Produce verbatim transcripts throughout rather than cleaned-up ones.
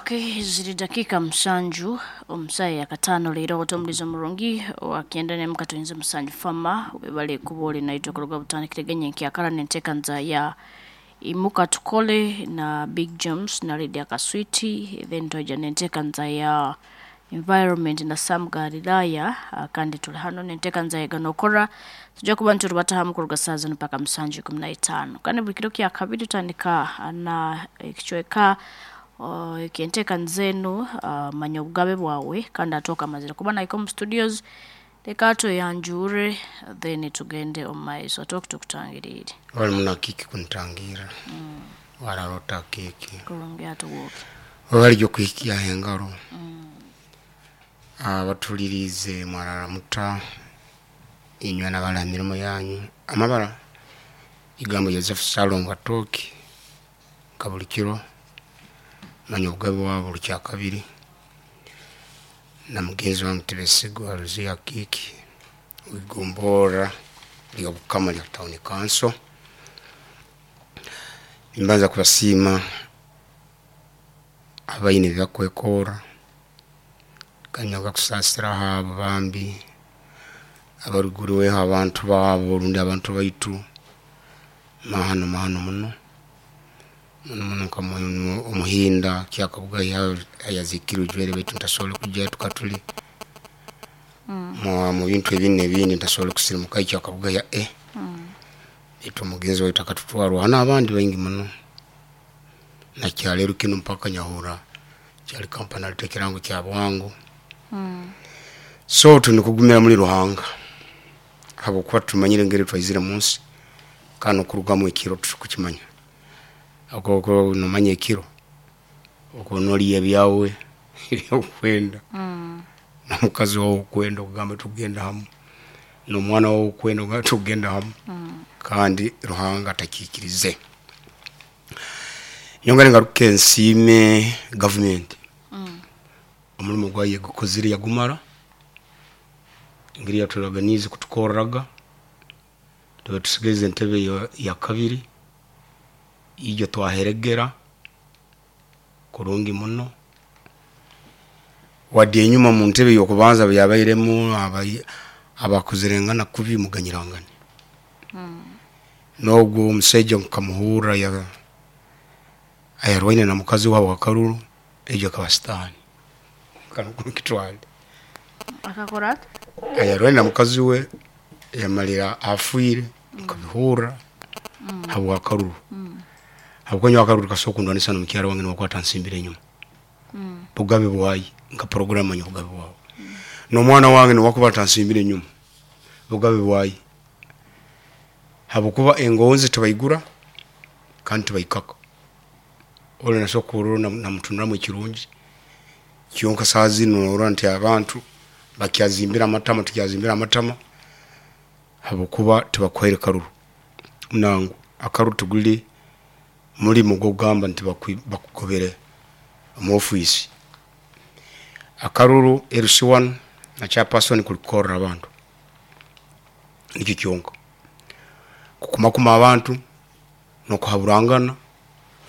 Okay, ziri dakika musanju omusayi yakatano leero otomulizo murungi wakyenda ne mukatoyinza musanju fama webale kuba oli naitwe kuruga butandikire nkyakala nentekanza ya imuka tukole na Big James na Lydia Kaswiti, then twaija nentekanza ya environment na Sam Galilaya, kandi tuli hano nentekanza ya ganokora tujja kuba nitulubatahamu kuruga saa zino mpaka musanju ikumi na itaano. Kandi buli kiro kya kabiri tutandika na ekicweka uh, eky'enteekaniza enu uh, manya obugabe bwawe kandi atooka amazire kuba naika omu studios leka tweyanjure then tugende omu maiso. Atooka tukutangiriire wali muna kiki kuntangira wararota kiki kurungi atuwoke wali okuhikia engaro abatulirize mwarara muta inywe nabala mirimo yanyu amabara igambo Joseph Salongo Atooki kabuli kiro manya obugabe bwawe buli kyakabiri na mugenzi wange Tebesigwa Luzia Kiki wigombora lya Bukama lya town council. Nimbanza kubasiima abaine ebyakwekora kanyaga kusasira abo bambi abaruguriweho abantu baabo rundi abantu baitu mahano mahano muno muno muno nka omuhinda kyakabuga ayazikirwe jwere baitu ntasobola kujja tukatuli mu bintu ebindi ebindi ntasobola kusirimuka kyakabuga ya e baitu omugenzi waitu akatutwarwa hano abandi baingi muno nakyaleero kino mpaka nyahura kyali kampani aleta ekirango kya bwangu. So tunikugumira muri Ruhanga habwokuba tumanyire engeri twaizire munsi kandi okurugamu ekiro tukukimanya okwo nomanya ekiro okwo noliya ebyawe ebyokwenda nomukazi wawe okwenda okugamba tugenda hamu nomwana wawe okwenda okugamba tugenda hamu kandi Ruhanga atakikirize. Nyongere ngaruke nsiime gavumenti omulimo gwayo gukozire yagumara engeri yaturaganize kutukorraga tuba tusigaize entebe ya kabiri ijo twaheregera kurungi muno wadde enyuma mu ntebe y'okubanza byabairemu abakuzirengana kubi muganyirangane n'ogwo omusaija nkamuhurra ayarwaine na mukazi waabo Akaruru ejo akaba sitaani kitwale akakora ati ayarwaine na mukazi we yamalira afiire nkabihurra habwa Akaruru habwokuba nyowe Akaruru kasobola kundwanisa nomukyara wange niwakwata nsimbire enyuma bugabe bwayi nka program manya obugabe bwawe nomwana wange niwakuba atansimbire enyuma bugabe bwayi habwokuba engonzi tibaigura kandi tibaikaka ole nasobola kurora namutunuramu ekirungi kyonka saaha zinu norora nti abantu bakyazimbira amatama tukyazimbira amatama habwokuba tibakuhaire karuru nangu akaruru tiguli mulimu gwokugamba nti bakugobere omu ofiisi. Akaruru L C one na chairperson kulikorra abantu nikyo kyonka kukumakuma abantu nokuhaburangana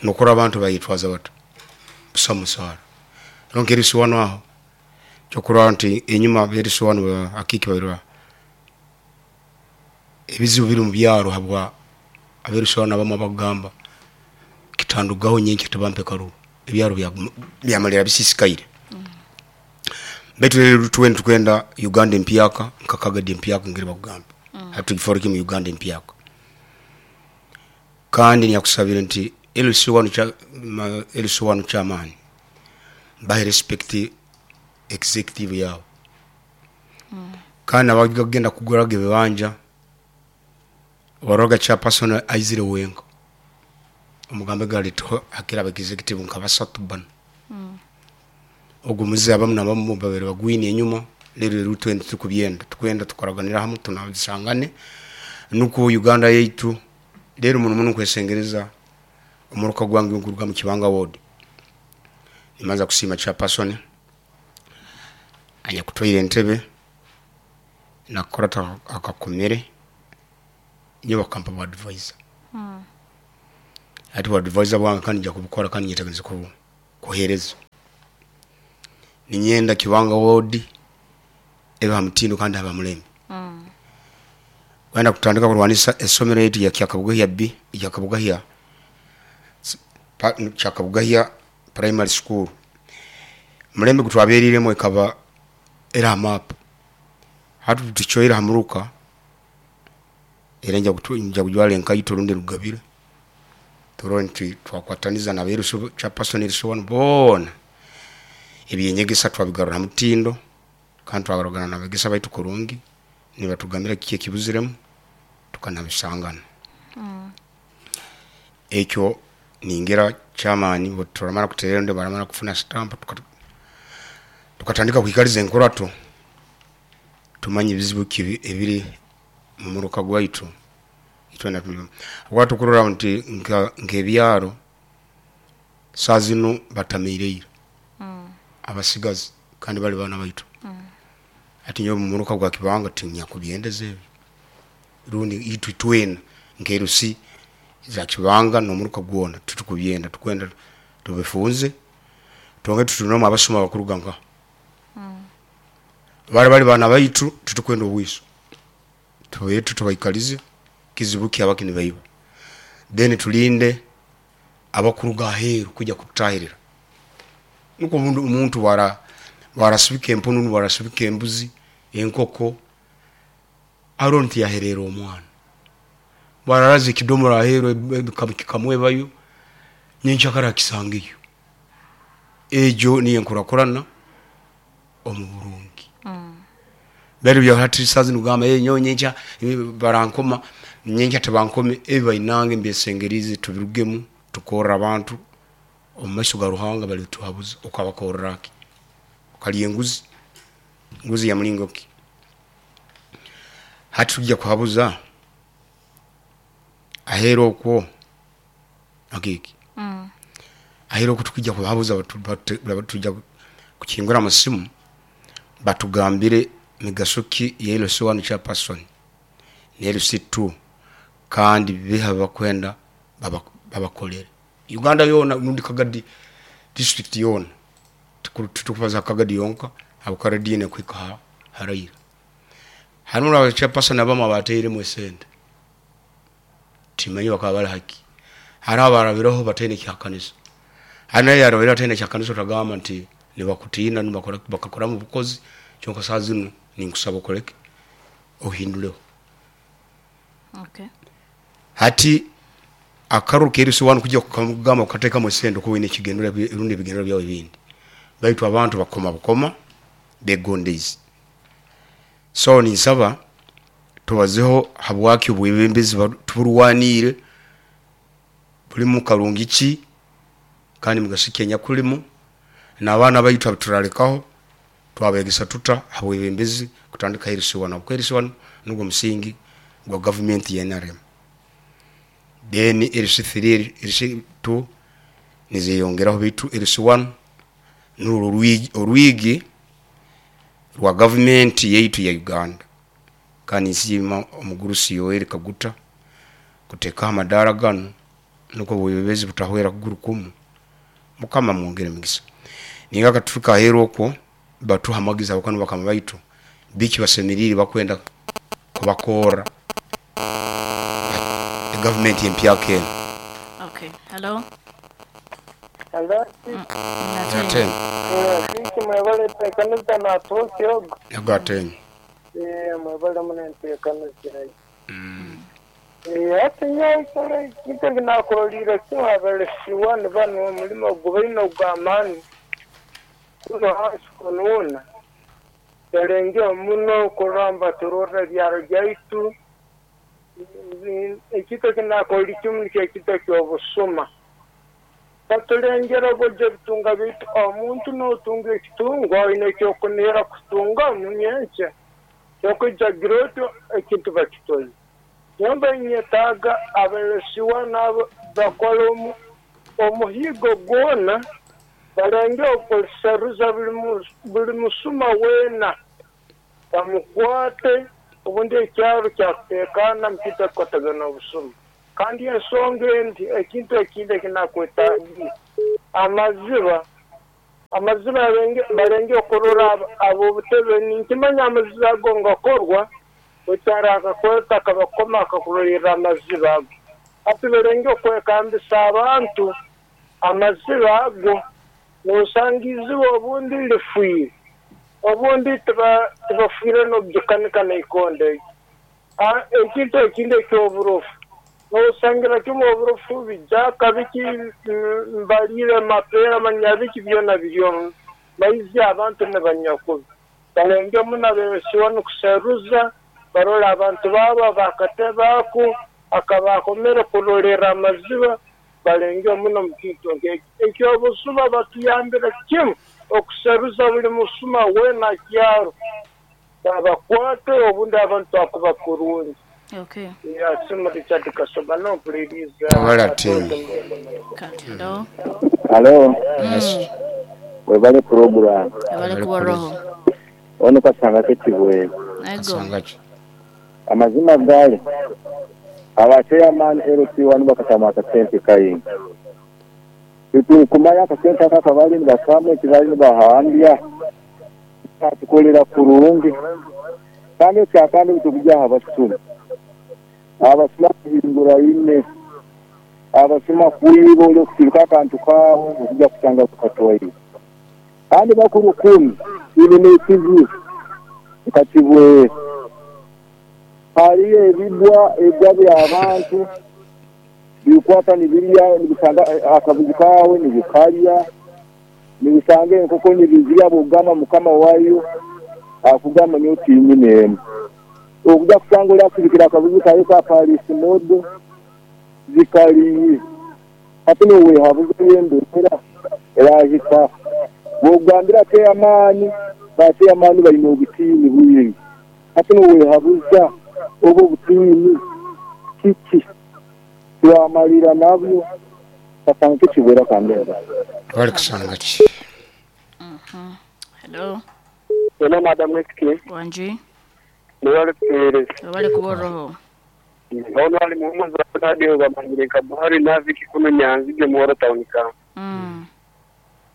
nokora abantu bayitwaza bata busa musaara ronke L C one aho kyokurora nti enyuma L C one akiki babirwa ebizibu biri mu byaro habwa L C one abamu abagamba kitandugaho nyenkya tibampe karuru ebyaro byamalira bisisikaire. Baitu rero tuwenda tukwenda Uganda empyaka nka Kagadi empyaka ngeri bakugamba hatugiforeke mu Uganda empyaka kandi nyakusabire nti L C one cha L C one chairman bahe respect executive yabo kandi abagenda kuguraga ebibanja waroga chairperson aizire wenka omugambe galito hakira aba executive nka basatu bano ogwo muzi abamu nabamu babiri bagwine enyuma lero rero twende tukubyenda tukwenda tukoraganira hamwe tunabisangane nuko Uganda yaitu. Rero muno muno kwesengereza omuruka gwange nguruga mu Kibanga ward nimanza kusiima chairperson anya kutwaire entebe nakora akakomere nyo bakampa ba advisor ati ba advisor bwange kandi nja kubukora kandi nyetegereze kuhereza. Ninyenda Kibanga ward ebe ha mutindo kandi haba mulembe. Mm. Kwenda kutandika kurwanisa esomero yetu ya Kyakabugahya B, Kyakabugahya pa- Kyakabugahya Primary School. Mulembe gutwaberiremu ekaba era map. Hatu tuchoira hamuruka era nja kutu nja kujwala enkaito rundi rugabire. Turore nti twakwataniza na beru cha person so bona. Ebyenyegesa twabigarura mutindo kandi twagarugana nabegesa baitu kurungi nibatugambira kiki ekibuziremu tukanabisangana. Mm. Ekyo ningira chamani bwe turamara kuterera baramara kufuna stamp tuka- tukatandika kwikaliza enkorato tumanye ebizibu ki ebiri mu muruka gwaitu itwena tuli watukurora nti nka nkebyaro saa zino batamiireire Mm. abasigazi kandi bali bana baitu. Mm. Ati nyowe mu muruka gwa Kibanga tinyakubyendeza ebyo rundi itwe twena nkerusi za Kibanga n'omuruka gwona tutukubyenda tukwenda tubifunze tonge tutunomu abasoma bakuruga nka Mm. bali bali bana baitu tutukwenda obwiso tubetu tubaikalize kizibu kyabaki nibaiba then tulinde abakuruga aheeru kujja kutahirira nuko omuntu omuntu wara warasubika empunu warasubika embuzi enkoko aro nti yaherera omwana wararaza ekidomora aheeru kikamwebayo nyenkyakara kisangeyo ejo niyo enkurakurana omu burungi. Mm. Bari bya hati sazi nugamba eh nyo nyencha eh, barankoma nyencha tebankome ebi bainange mbesengerize tubirugemu tukorra abantu omu maiso ga Ruhanga bali tuhabuza okabakorra ki okalya enguzi nguzi ya mulingo ki hati tujja kuhabuza ahera okwo akiki Mm. ahera okwo tukujja kuhabuza batu- batu- batu- tujja kukingura amasimu batugambire migaso ki ya L C one chairperson ne L C two kandi biha bakwenda baba- babakolere Uganda yona nundi Kagadi district yona tukubaza Kagadi yonka abukaradine kwika ha- harayira harimu aba chairperson abamu abateire mu sente timanyi bakaba bali haki hari abarabiraho bataine kyakanisa hari naye yarabira ataine kyakanisa otagamba nti nibakutiina nibakora bakakora mu bukozi kyonka saa zino ninkusaba okoleke ohinduleho. Okay. Hati akaruru kerisi wanu kujja kugamba kukateekamu esente okuba oyina ekigendera erundi ebigendera byawe ebindi baitu abantu bakoma bukoma begondeize. So ninsaba tubazeho habwaki obwebembezi tuburwaniire bulimu karungi ki kandi mugaso ki enyakulimu n'abaana baitu abaturalekaho twabegesa tuta habwebembezi kutandika L C one habwokuba L C one nugwo musingi gwa gavumenti ya N R M. Then L C three, L C two nizeyongeraho baitu L C one nurwo orwigi, orwigi rwa gavumenti yaitu ya Uganda. Kandi nsiima omugurusi Yoweri Kaguta kuteekaho amadaara ganu nukwo obwebembezi butahwera kuguru kumu. Mukama mwongere emigisa. Ninga katutuka aheeru okwo batuha amagezi abakanu bakama baitu biki basemerire bakwenda kubakorra gavumenti empyaka eno. Okay. Hello. Hello. Ate Sisi mwebale enteekaniza natuusi ogo. ago atenye. Eh, mwebale muno enteekaniza eyo. Eh, ati nyowe ekintu eki nakuroliire kimu abalesiwa ni banu omulimo ogu baine ogw'amaani kuno hansi kunuuna yalengeho muno kurora nibaturorra ebyaro byaitu. Ekintu eki nakuroliire kimu nikyo ekintu eky'obusuma. Batulengera oburyo ebitunga byaitu omuntu n'otunga ekitungwa oine ekyokunihira kutungamu nyenkya kyokwija gira otyo ekintu bakitoze. Nyomba ninyetaaga abalesiwa nabo bakole omu omuhiigo gwona balenge okuseruza buli mu- buli musuma weena bamukwate obundi ekyaro kyakuteekaana mukintu ekikukwatagana n'obusuma. Kandi ensonga endi ekintu ekindi ekinakwetaagiire amaziba. Amaziba barenge okurora abo butebe ninkimanya amaziba ago ngakorwa okyara akakweta akabakoma akakurorera amaziba ago. Ati barenge okwekambisa abantu amaziba ago nosanga iziba obundi lifwire obundi tibafwire n'obugikanika naikonda ekintu ekindi ekyoburofu nosangira kimu oburofu bijaka biki mbalire mapera manyabiki byona biryo maizi abantu nebanyakubi balenge muna besiwa nokuseruza barola abantu baba bakatebako akabakomere kurolera amaziba balenge muno mukintu ekyobusuma batuyambira kimu okuseruza buli musuma wena kyaro babakwate obundi abantu akuba kurungi. Okay. Ya simu Richard Kasoba no please. Wala team. Hello. Hello. Yes. Webale program. Webale kuwa roho. Ono kasanga ketibwe. Kasanga ki. Amazima gale. Abachairman L C one bakatama akasente kayingi. Itu kumaya akasente akakabali nibasamwe kibali nibahambya. Tukolera kurungi. Kandi kyakandi bitubujja abasuma. Abasuma kuhingura ine. Abasuma kuyiba ole kusiruka akantu kaabo okujja kusanga kukatwaire. Kandi bakuru kumi ibi n'ekizu nkakibwe. Hariyo ebibwa ebwa by'abantu bikwata nibirya nibisanga akabuzi kawe nibikarya nibisanga enkoko nibizirya bwogamba mukama wayo akugamba nyo tinyine okujja kusanga oli asirikira akabuzi kayo ka Paris modo zikali ate nowehabuza yendera erahika bwogambira chairman ba chairman balina obutiini bwingi ate nowehabuza obwo obutiini kiki twamalira nabyo kasanga kibwera kandera wali kusanga ki. Hello. Hello madam Wekike. Wanji. Wali kutereza. Wali kuwa roho. Ono ali muhumuza radio bamanyire Buhari naviki kuno nyanzige muhoro town ka. Mm.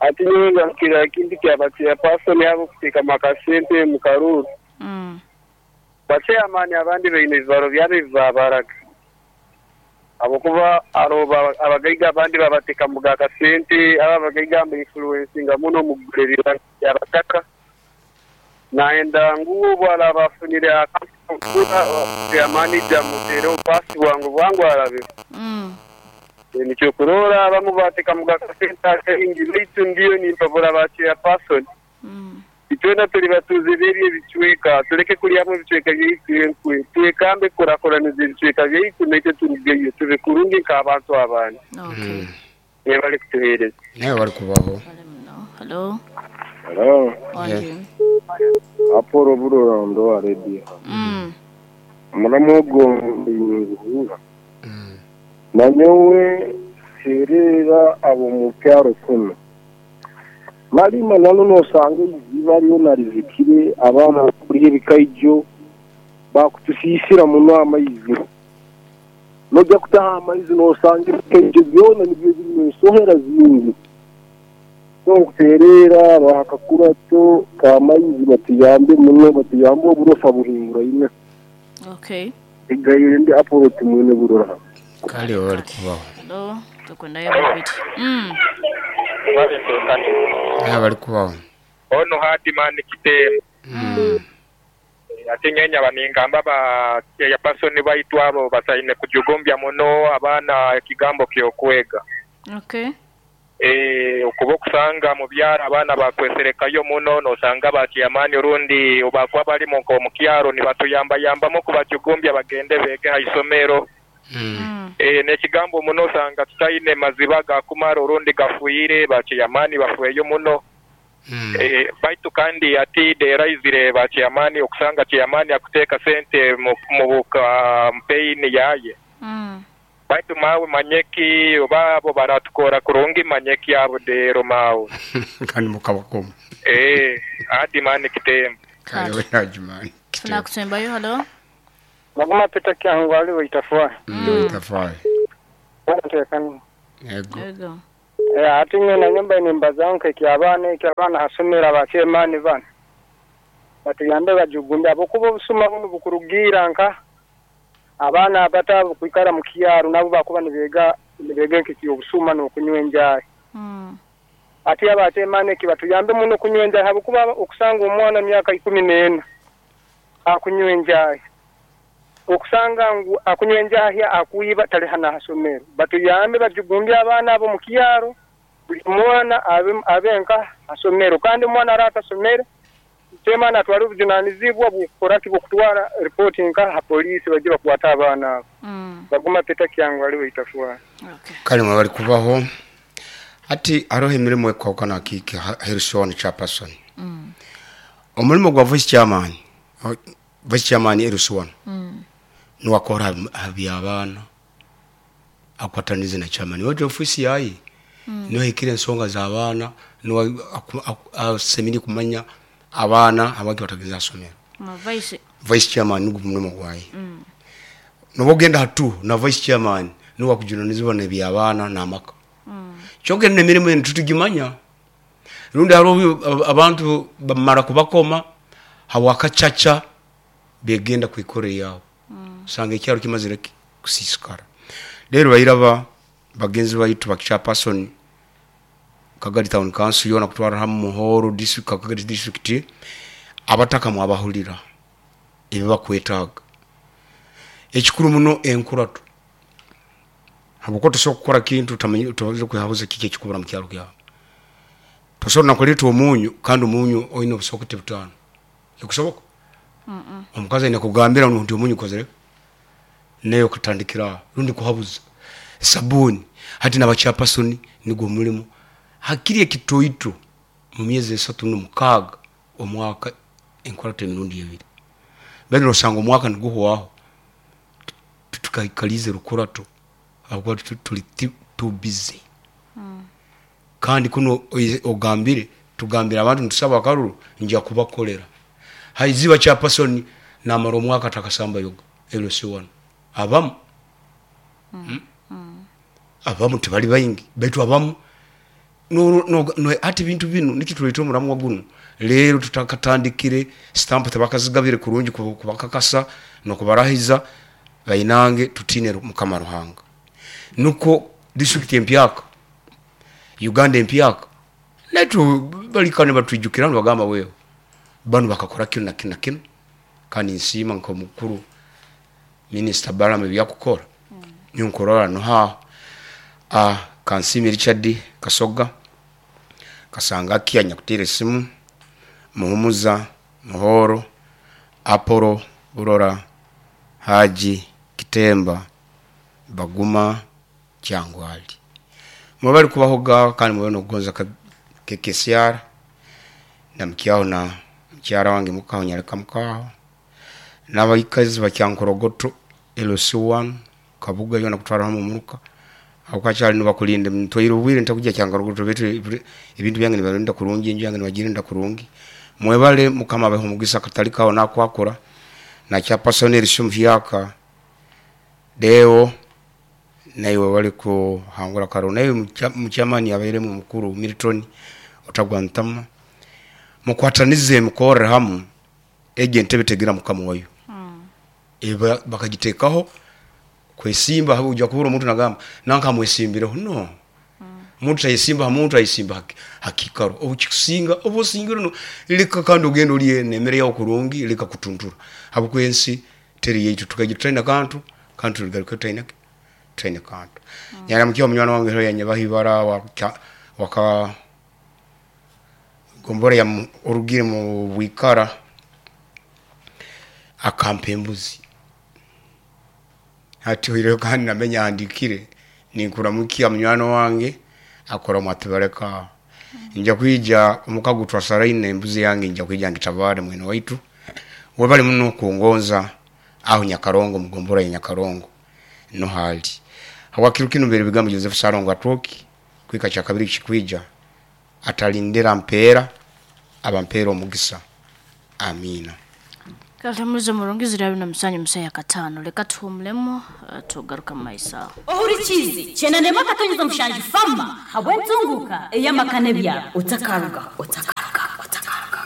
Ati nyenga kira kindi kya batia person yabo kutika makasente mukaruru. Mm. Bache amani abandi beine ibaro byabe bibabaraga. Abokuba aroba abagaiga abandi babateka mugaka sente aba abagaiga mbe influencinga muno mugurerera yabataka. Naenda nguo bwala bafunire akampura ya manager mutero pasi wangu wangu arabe. Mm. Nikyo kurora abamu bateka mugaka sente ingi bitu ndiyo nimpabura bache person. Mm. Itwena tuli batuze beri ebicweka tuleke kulyamu ebicweka byeitu twekambe kurakoraniza ebicweka byeitu naite turugeyo tube kurungi nk'abantu abandi. Okay. Ne bali kutuhereza. Naye bali kubaho. Hello. Hello. Wanji. Aporo burora ndo wa radio. Mm. Muramugo nguhura. Mm. Nanyowe serera abo mu pyaro kuno. Malima nalo nosanga iziba ariyo narizikire abana kuri ebikaijo bakutusisira muno amaizi. Nojja kutaha amaizi nosanga ebikaijo byona nibyo biri ensohera zingi. Nkuterera bahakakurato kamaizi batuyambe muno batuyambe oburofa buhingura ine. Okay. Egayire ndi aporo timwene burora. Kale wali kubaho. Hello, tukwendayo babiti. Mm. Naye bali kubaho. Ono hadi man kitemu. Mm. Ate nyenya baningamba ba ya person baitwa abo basaine kujugombya muno abana ekigambo kyokwega. Okay. Eh okuba okusanga mu byaro abaana bakweserekayo muno nosanga bakiyamani orundi obakwa bali mu mukyaro nibatuyambayambamu kubajugombya bagende bege ha isomero. Mm. Eh n'ekigambo muno osanga tutaine maziba gakumara orundi gafuyire bakiyamani bafueyo muno. Mm. Eh baitu kandi ati deraizire bakiyamani okusanga kiyamani akuteka sente mu kampeyini yaye. Mm. Baitu mawe manyeki obabo baratukora kurungi manyeki abo dero mawe. Kandi mukabakomo. Eh adi mani kitembo. Kale hajimani. Tuna kusembayo hello. Maguma Peter Kyangu ali waitafua. Mm. Tafai. Wanatekani. Ego. Ego. Eh, ati nyena nyumba nimbazaho nk'ekyabaana ekyabaana hasomera abakyemaani bano batuyambe bajugumbe ahabwokuba obusuma bunu bukurugiira nka abaana abato abo kwikara mu kyaro nabo bakuba nibeega nibeega nk'ekyobusuma n'okunywa enjaahi. Mm. Ati abakyemaani eki batuyambe muno kunywa enjaahi habwokuba okusanga omwana myaka ikumi n'ena akunywa enjaahi, okusanga ngu akunywa enjaahi akwiba tali hana hasomero. Batuyambe bajugumbye abaana abo mu kyaro, buli mwana abe abe nka hasomero, kandi omwana aratasomere kyemaani atwale obujunanizibwa bw'okukora ki, bw'okutwara ripooti nka ha poliisi bajye bakwata abaana abo. Mm. Baguma Peter Kyangwali aliwe itafwara. Okay. Kale mwe bali kubaho ati haroho emirimu ekwahukana kiiki Harrison chairperson. Mm. Omulimo gwa vice chairman, o- vice chairman Harrison Mm. niwakora by'abaana akwatanize na chairman wetu ofisi yayi mm. niyo ensonga z'abaana niwe asemiri kumanya abaana abaki batageza somero. Ma vice Vice chairman nigwo mulimo gwayi. Mm. Nobogenda hatu na vice chairman niwe akujunanizibwa n'ebyabaana n'amaka. Mm. Kyogenda emirimu eno tutugimanya rundi hariho abantu bamara kubakoma hawakacaca begenda kwikora yaabo. Mm. Usanga ekyaro kimazire ki- kusiisikara. Rero bairaba bagenzi baitu ba chairperson Kagadi Town Council yona kutwara hamu Muhoro district, Kagadi district, abataka mwabahulira ebi bakwetaaga. Ekikuru muno enkurato, habwokuba tosobola kukora kintu utamanyi tosobola kwehabuza kiki ekikubura mu kyaro kyawe. Tosobola nakuleeta omunyu kandi omunyu oyina obusokoti butaano, kikusoboka? Mm. Omukazi aine kugambira nti omunyu ukozere naye okutandikira aho rundi kuhabuza sabuni. Hati n'abakyapasoni nigwo mulimu hakiri ekitoito mu myezi esatu n'omukaaga omwaka enkurato emirundi ebiri, bali nosanga omwaka niguhwaho tukaikalize rukurato habwokuba tu- tuli ti- too busy. Mm. Kandi kuno oize- ogambire tugambire abantu nitusaba akaruru nja kubakolera haiziba chairperson namara omwaka takasamba yoga L C one abamu. Mm. Mm. Abamu tibali baingi baitu abamu no, no, no, ati bintu binu nikituleeta omuramwa guno leero tutakatandikire stamp tebakazigabire kurungi kuba- kubakakasa nokubarahiza bainange tutine Mukama Ruhanga. Nuko district empyaka Uganda empyaka naitu balikane batwijukira nibagamba wewe banu bakakora kino na kino na kino. Kandi nsiima nk'omukuru Minister Balaam ebyakukora ninkurora noha ah Kansimi Richard Kasoga Kasanga kia nyakutira esimu Muhumuza Muhoro Apollo Burora Haji Kitemba Baguma Kyangwali mwebali kubahoga kandi mwebali nokugonza ka- K K C R na mukyaho na mukyara wange mukaho nyaleka mukaho n'abaikazi bakyankorogoto L C one Kabuga yona kutwara hamu muruka akakyali nibakulinda ntwaire obwire ntakujja kyankorogoto betu ebintu byange nibarinda kurungi enju yange nibagirinda kurungi. Mwebale Mukama abahe omugisa katali kawo nakwakora na chairperson Elisha Muhyaka Deo naiwe wali kuhangura karo naye mukyamani abairemu mukuru Milton otagwa ntama mukwatanize mukorere hamu ege entebe tegira Mukama wayo. Mm. Eba bakagitekaho kwesimba habo ujya kubura omuntu nagamba nanka mwesimbireho no. Omuntu ayisimba omuntu ayisimba haki- hakikaro obukikusinga obusingiro no leka kandi ogenda oliye nemere yawo kurungi leka kutuntura habukwensi teri yaitu tukagitaina kantu kantu tuligaruka taina taina kantu. Mm. Nyara mkiwa munywana wange hero yanyabahibara waka, waka gombora ya mu- orugire mu bwikara akampa embuzi hati hoireho kandi namenya andikire ninkuramukia munywani wange akora mwatibareka nja kwija omukago twasaraine embuzi yange nja kwija ngitabare mwene waitu webali muno kungonza aho Nyakarongo mugombora ya Nyakarongo no hali hawakiru kino mbere bigambo Joseph Sarongo atoki kwika cha kabiri kikwija atalindira mpera abampera omugisa. Amina. Katamulizo murungi zirabi na musanyu musaya katano leka tuhumulemu uh, tugaruka maisa. Ohurikizi chenane makatonyeza mushanju fama habwentunguka eyamakane bya utakaruga utakaruga utakaruga.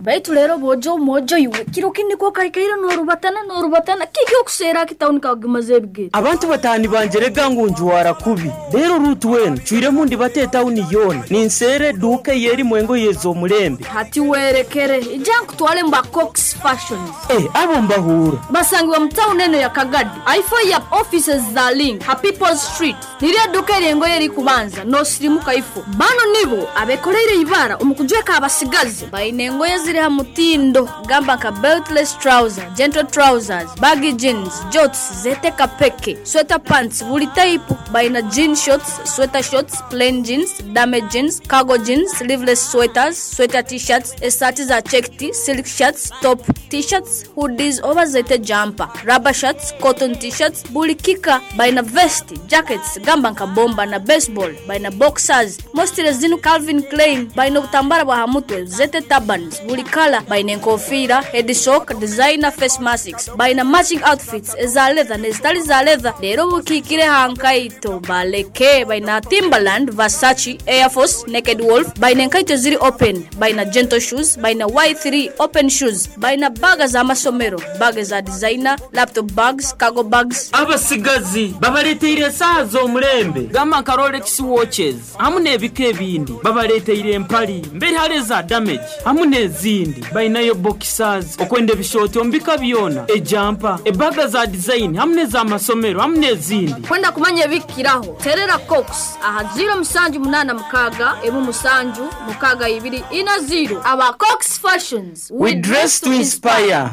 Baitu lero bojo mojo iwe kiro kindi ko kaikaira norubatana norubatana kiki okusera kitawuni kagimaze ebigere. Abantu batani banjerega ngunjuwara kubi rero rutu wenu cwire mundi bate tawuni yona ninsere duke yeri mwengo yezo mulembe hati werekere ija nkutwale mba Cox Fashions eh abo mbahura basangwa mu town eno ya Kagadi aifo ya offices za Link ha People's Street niriya duke rengo yeri kubanza no sirimuka ifo bano nibo abekoreire ibara umukujweka abasigazi bainengo yezire ha mutindo gamba ka beltless trouser, gentle trousers, baggy jeans, jorts zete kapeke, sweater pants buli type baina jean shorts, sweater shorts, plain jeans, damage jeans, cargo jeans, sleeveless sweaters, sweater t-shirts, esati za checked, silk shirts, top t-shirts, hoodies over zete jumper, rubber shirts, cotton t-shirts, buli kika baina vest, jackets gamba nka bomba na baseball, baina boxers, mostly zinu Calvin Klein, baina obutambara bwa hamutwe, zete turbans, buli kala baina enkofira, head sock, designer face masks, baina matching outfits eza leather nezitali za leather lero bukikire hankaito baleke baina Timberland, Versace, Air Force, Naked Wolf, baina enkaito ziri open, baina gentle shoes, baina Y three open shoes, baina baga za masomero, baga za designer, laptop bags, cargo bags. Abasigazi babaleteire saha z'omulembe gamba nka Rolex watches hamu n'ebika ebindi babaleteire empali mbere hale za damage hamu n'ezindi bainayo boxers okwenda ebishoti ombika byona ejampa ebaga za design hamu n'ezamasomero hamu n'ezindi. Kwenda kumanya ebikiraho terera Cox aha zero musanju munana mukaga emu musanju mukaga ibiri ina zero. Aba Cox Fashions, we dress to inspire.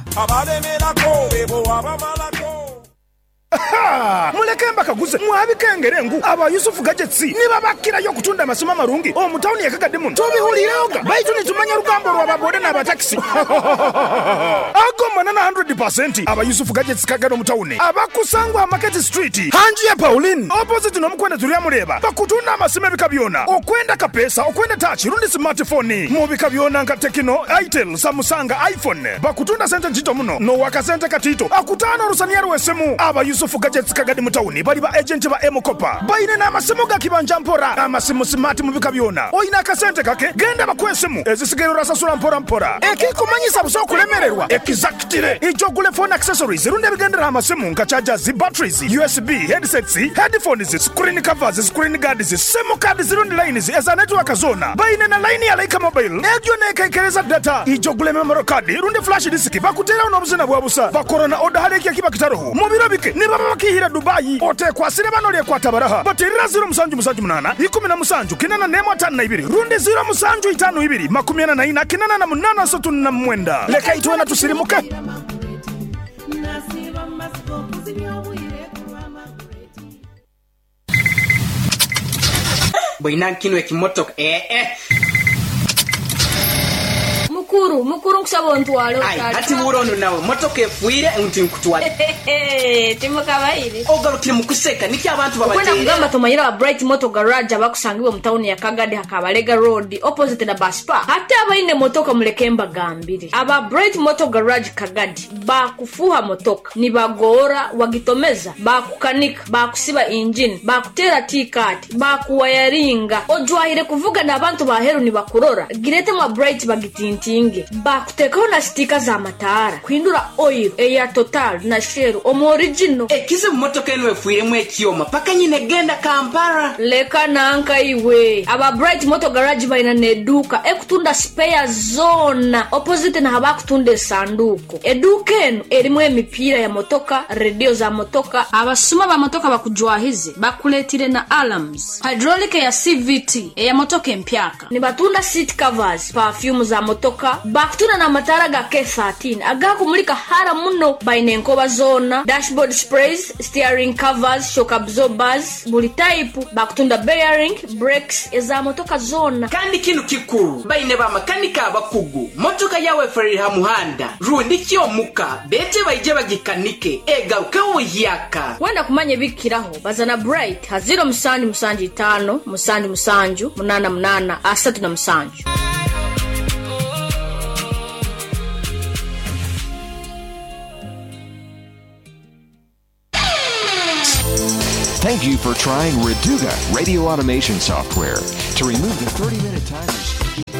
Muleke mbakaguze mwabikengere ngu aba Yusufu Gadgets niba bakirayo kutunda amasoma marungi omu tawuni ya Kagadi muno tubihulireoga baitu nitumanya rugambo rw'ababode n'abatakisi ago manana one hundred percent aba Yusufu Gadgets Kagadi omu tawuni abakusangwa Market Street hanji ya Pauline opposite n'omukwenda turiya mureba bakutunda amasima ebika byona okwenda kapesa okwenda touch rundi smartphone mu bika byona nka Tecno, Itel, Samsung, iPhone bakutunda sente ntito muno no wakasente katito akutano rusaniya rwesemu aba Yusufu Gadgets Kagadi mutawuni bali ba agent ba M-Kopa baine n'amasimu ga kibanja mpora amasimu smart mu bika byona oyina akasente kake genda bakwesimu ezisigero rasasula mpora mpora ekikumanyisa buso kulemererwa exactly ijogule phone accessories runde bigendera amasimu nka chargers, batteries, U S B, headsets, headphones, screen covers, screen guards, SIM cards rundi lines eza network zona baine na line ya Laika Mobile egyo nekekereza data ijogule memory card rundi flash disk bakutera n'obuzina bwa busa bakorona order haleki akiba kitaroho mu biro bike niba bakihira Dubai otekwasire bano lyekwata baraha baterera zero musanju musanju munana ikumi na musanju kinana nemo atano na ibiri rundi zero musanju itano ibiri makumi ana na ina kinana na munana sotu na mwenda leka itwena tusirimuke. Boina kino ekimotoka eh eh Mukuru, mukuru nkusaba ontwale otali. Ati burono nawe motoka efuire nti nkutwale. Timukabaire. Ogarukire mukuseka niki abantu babatera. Kwenda kugamba tumanyira wa Bright Motor Garage abakusangiwe mu town ya Kagadi hakabalega road opposite na bus park. Hata abaine motoka muleke mbagambire. Aba Bright Motor Garage Kagadi bakufuha motoka nibagora wagitomeza bakukanika bakusiba engine bakutera T-card bakuwayaringa ojwahire kuvuga n'abantu baheru nibakurora. Girete mwa Bright bagitinti bakutekaho na stika za matara kwindura oil eya Total na Shell omu original ekize mu motoka eno efuiremu ekyoma paka nyine genda Kampala leka nanka iwe. Aba Bright Motor Garage baina neduka ekutunda spare zona opposite na habakutunda esanduko eduka eno erimu emipira ya motoka, radio za motoka. Abasuma ba motoka bakujwahize bakuletire na alarms hydraulic ya C V T eya motoka empyaka nibatunda seat covers, perfume za motoka bakutuna na matara ga K thirteen agakumulika hara muno baine enkoba zona, dashboard sprays, steering covers, shock absorbers buli type bakutunda bearing, brakes eza motoka zona. Kandi kinu kikuru baine ba makanika abakugu motoka yawe ferry ha muhanda rundi kyomuka bete baije bagikanike egaruke uyaka wenda kumanya bikiraho bazana Bright ha zero musanju musanju itano musanju musanju munana munana asatu na musanju. Thank you for trying Reduga radio automation software. To remove the thirty-minute timers.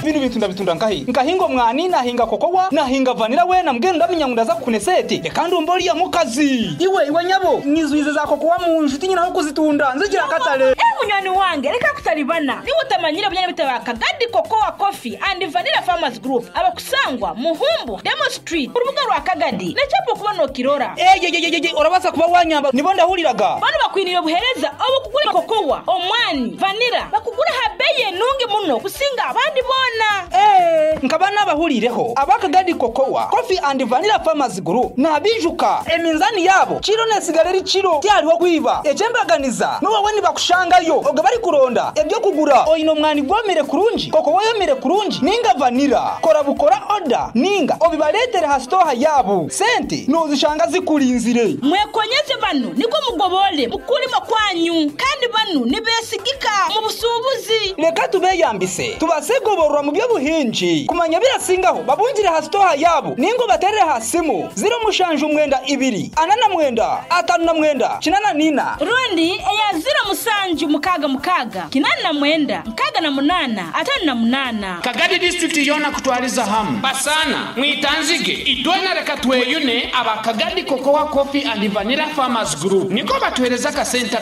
Bino bintu ndabitunda nkahi nkahinga omwani, nahinga kokowa, nahinga vanilla, wena mbwenu ndamenya ngo ndaza kukunesete. Reka ndumva uriya mukazi iwe iwe nyabo nyizwize za kokowa mu nshuti nyina aho kuzitunda nzigira akatale. Eh, munywani wange, reka kutalibana niba utamanyire bunyana bitaba Kagadi Cocoa Coffee and Vanilla Farmers Group abakusangwa Muhumbu Demo Street, urubuga rwa Kagadi nechapo kuba nokirora. Eyeyeyeye, urabasa kuba wanyamba nibo ndahuriraga. Bano bakwiriye buhereza abo kugura kokowa, omwani, vanilla, bakugura habeye nungi muno kusinga abandi bona. Eh, nkaba nabahurireho abakagadi Cocoa Coffee and Vanilla Farmers Group nabijuka eminzani yabo kiro nesigara eri kiro tyariho kwiba ekyembaganiza nuwawe nibakushangayo oga bari kuronda ebyo kugura oyina omwani gwomere kurungi, kokowa yomere kurungi, ninga vanilla, kora bukora oda ninga obibaletere ha stoha yabo, sente nozishanga zikurinzire. Mwekonyeze bano niko mugobole mukulima kwanyu, kandi bano nibesigika mu busubuzi. Reka tubeyambise tubasegoborwa mu by'obuhingi kumanya birasingaho babungire ha stoha yabo ningo baterere ha simu ziro mushanju mwenda ibiri anana mwenda atanu na mwenda kinana nina rundi eya ziro musanju mukaga mukaga kinana na mwenda mukaga na munana atanu na munana. Kagadi district yona kutwaliza hamu basana mwitanzige idwena reka tweyune aba Kagadi Cocoa Coffee and Vanilla Farmers Group niko batwereza kasenta.